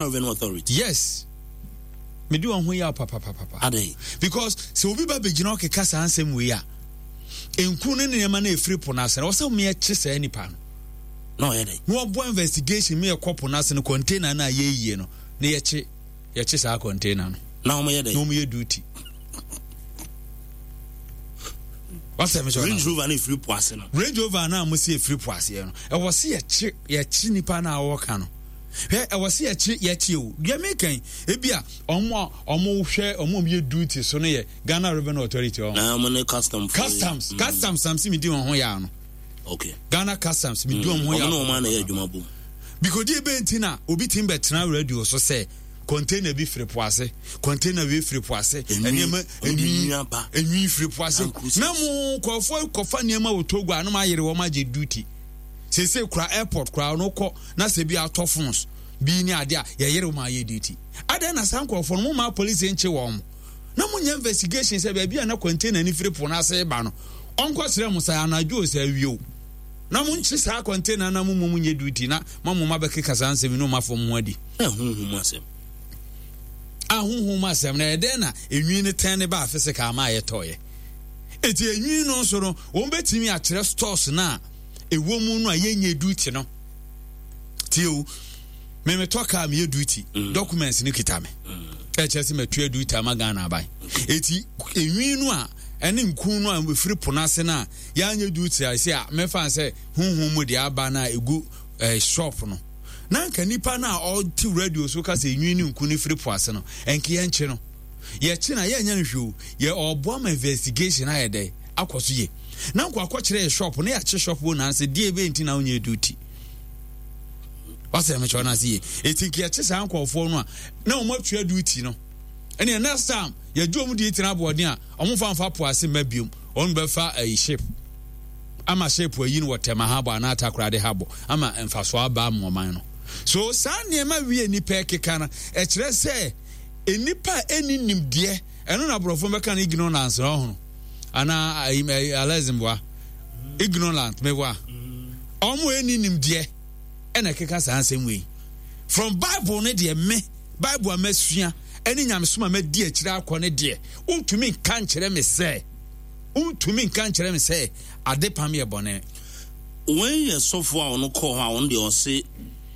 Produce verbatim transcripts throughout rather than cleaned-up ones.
Revenue Authority. Yes, mede wɔn ho yaw papapapa. Adɛn? Because sɛ obi ba bɛgyina ɔkeka saa nsɛm wei a, nku ne nneɛma no ɛfiri po no ase no, ɔsɛ wɔyɛkye saa nipa no. Na ɔyɛ dɛn? Na wɔboa investigation mi ɛkɔ po no ase no, container no a yɛyie no, na yɛkye yɛkye saa container no. Na wɔyɛ dɛn? Na wɔyɛ duty. Wasɛ mi sɔ Range Rover no efiri po ase no. Range Rover no a mo si efiri po aseɛ no, ɛwɔ se yɛkye yɛkye nipa no a wɔka no. Hwɛ, ɛwɔ se yɛkye yɛkye o. Deɛ mi kan ebi a ɔmo a ɔmo hwɛ ɔmo a ɔmo yɛ duty so no yɛ Ghana Revenue Authority ɔmo. Na ɔmo ne customs. Customs mm. Customs am si mi di wɔn ho yaa no. Okay. Ghana Customs mi di wɔn ho yaa. Ɔmo ne wɔn ana yɛ adwuma bom. Because deɛ ebe nti na obi ti bɛ tena radio so sɛ container bi firi po ase, container bi firi po ase, nneɛma enwi enwi firi po ase. Na mo nkurɔfoɔ kɔfa nneɛma wɔ Togo a na mo ayere wɔn agye duty. Sese kura airport kura no kɔ na sɛ bi atɔ phones bi ne ade a yɛyere wɔn ayɛ duty. Adɛn na saa nkurɔfoɔ no mo maa polisi nkye wɔn na mo nyɛ investigation sɛ baabi a na container ni firi po no ase ba no ɔnkɔ srɛ mo sɛ anadwo sɛ awie o na mo nkye saa container na mo mmom nyɛ duty na mo mo ma bɛkeka saa nsɛm no ma fam ho adi. Ahonhom asɛm. Ahonhom asɛm na ɛdɛn na enwi no tɛn ne ba physical ama ayɛtɔɔyɛ. Eti enwi no nso no wɔn bɛtumi akyerɛ stores no a ɛwɔ mu no a yɛnyɛ duty no. Tie o, memetɔ kaa meyɛ duty, mm. documents no kita me. Ɛkyerɛ sɛ matua duty ama Ghana aban. Eti enwi no a ɛne nku no a ɛfiri po no ase no a yɛanyɛ duty a ɛsɛ a mɛfa sɛ honhom mu deɛ aba no a ɛgu eh, shop no na nka nipa no a ɔte radio so ka sɛ enwi ne nku no firi po ase no ɛnka yɛnkye no yɛkye na yɛnyɛ no hwee o yɛ ɔboa ma investigation ayɛ dɛ akɔ so yie na nkɔ akɔkyerɛ yɛ shop na yɛakye shop wo nanse deɛ ɛbɛyɛ nti na wonyɛ duty wasɛ mekyerɛ no ase yie ɛti nka yɛkye saa nkɔɔfoɔ no a na wɔn atua duty no ɛneɛ next time yɛgye wɔn duty no aboɔden a wɔn fa mfa po ase mma biom wɔn bɛfa ayi ship ama ship ayi no wɔ Tema habɔ anaa Takoradi habɔ ama mfasoɔ aba ama ɔman no. So saa nneɛma wie nnipa ɛkeka no ɛkyerɛ sɛ nnipa a ɛnni nimdeɛ ɛno na aborɔfo bɛka no ignorance na ɔhono anaa alɛzimboa ignorant meboa ɔmo ɛnni nimdeɛ ɛna ɛkeka saa nsɛm wei from Bible no deɛ me Bible a masua ɛne nyamesom a madi akyire akɔ no deɛ wontumi nka nkyerɛ me sɛ wontumi nka nkyerɛ me sɛ adepam yɛ bɔne. Wei yɛ sɔfo a ɔno kɔɔ hɔ a ɔno deɛ ɔse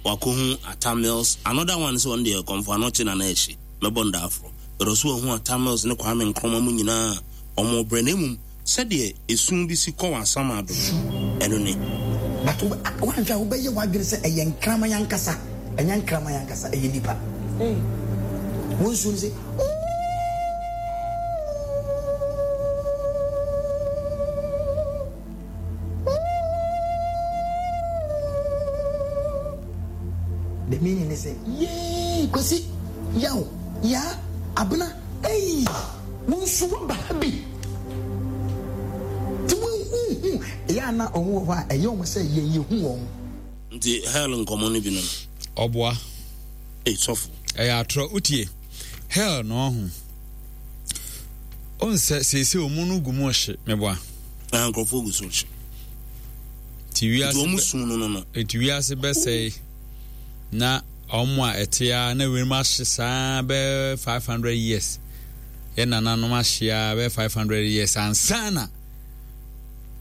wakɔhu Atta Mills, another one sɛ ɔno deɛ Kɔmfo Anokye na na ɛhye, mɛbɔ no da aforo. But ɔse wahu Atta Mills ne Kwame Nkrumah mu nyinaa a ɔmo brɛ na mmom sɛdeɛ esu bi si kɔ wɔ Asamado no, ɛno ne. But woanhwɛ a wobɛyɛ w'adwene sɛ ɛyɛ nkraman ankasa. Ɛnyɛ nkraman ankasa, ɛyɛ nipa. Wo nsuo no sɛ The meaning is sɛ yee Kwasi, Yaw, Yaa, Abena, ei, wo nso woaba ha bi. Nti wonhu, ɛyɛ a na wɔn wɔ hɔ a ɛyɛ wɔn sɛ yɛn yɛhu wɔn. Nti hell nkɔmɔ no bi no no. Ɔboa. Ei sɔfo. Ɛyɛ atorɔ wotie hell na ɔho. Onsɛ seesei ɔmu no gu mu hye meboa. Na nkurɔfoɔ gu so hye. Ti wiase ɔmu sum no no no. Eti wiase bɛsɛe na ɔmo a ɛte a na wiem ahye saa bɛɛ five hundred years. Yɛ nananom ahye a bɛɛ five hundred years ansa na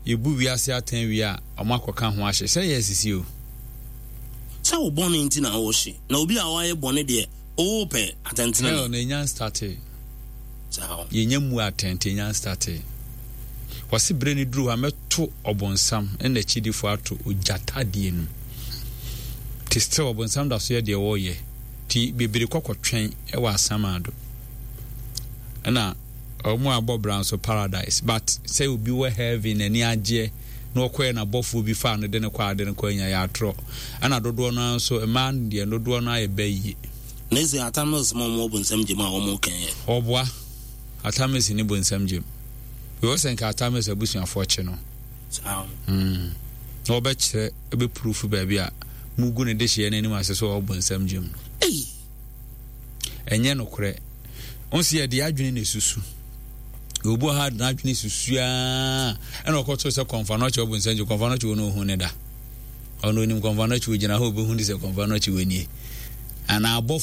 yɛbu wiase atɛn wie a, ɔmo akɔka ho ahye. Sɛ yɛ asisi o. Sɛ wo bɔne nti na wo hye. Na obi a wayɛ bɔne deɛ, oo pɛ atɛntene. Hell no enya nstartee. Saa o. Yɛnya mmu atɛn nti enya nstartee. Wɔse bere no duru hɔ a mɛto ɔbonsam ne n'akyidifo ato ogya tadeɛ no mu. Nti still ɔbonsam da so yɛ deɛ ɔreyɛ. Nti bebree kɔ kɔtwɛn wɔ asamado. Ɛna ɔmo abɔ bra nso paradise but sɛ obi wɔ heaven n'ani agyeɛ na ɔkɔɛ na bɔfoɔ bi faa no de no kɔ ade no kɔ anya yɛ atorɔ ɛna dodoɔ no ara nso mmaa no deɛ dodoɔ no ayɛ bɛ yie. Na ese Atta Mills ma ɔmo wɔ bonsam gyem a ɔmo kɛn yɛ. Ɔboa, Atta Mills ni bonsam gyem. Wei ɔsɛ nka Atta Mills abusuafoɔ kye no. Saa. Mm. Na ɔbɛkyerɛ, ɛbɛpurufu baabi a mugu ne dehyeɛ no anim ase sɛ ɔwɔ bonsam gyem no. Ei! Ɛnyɛ nokorɛ. Wo sɛ yɛde adwene na esusu. Obi wɔ ha de n'adwene susu aa ɛna ɔkɔto sɛ kɔnfa no ɔkyɛ ɔbɔ nsɛnkyɛ kɔnfa no ɔkyɛ wɔn ohun ne da. Ɔno onim kɔnfa no ɔkyɛ ogyina hɔ obehu de sɛ kɔnfa no ɔkyɛ wɔn nie. Anaa abɔfoɔ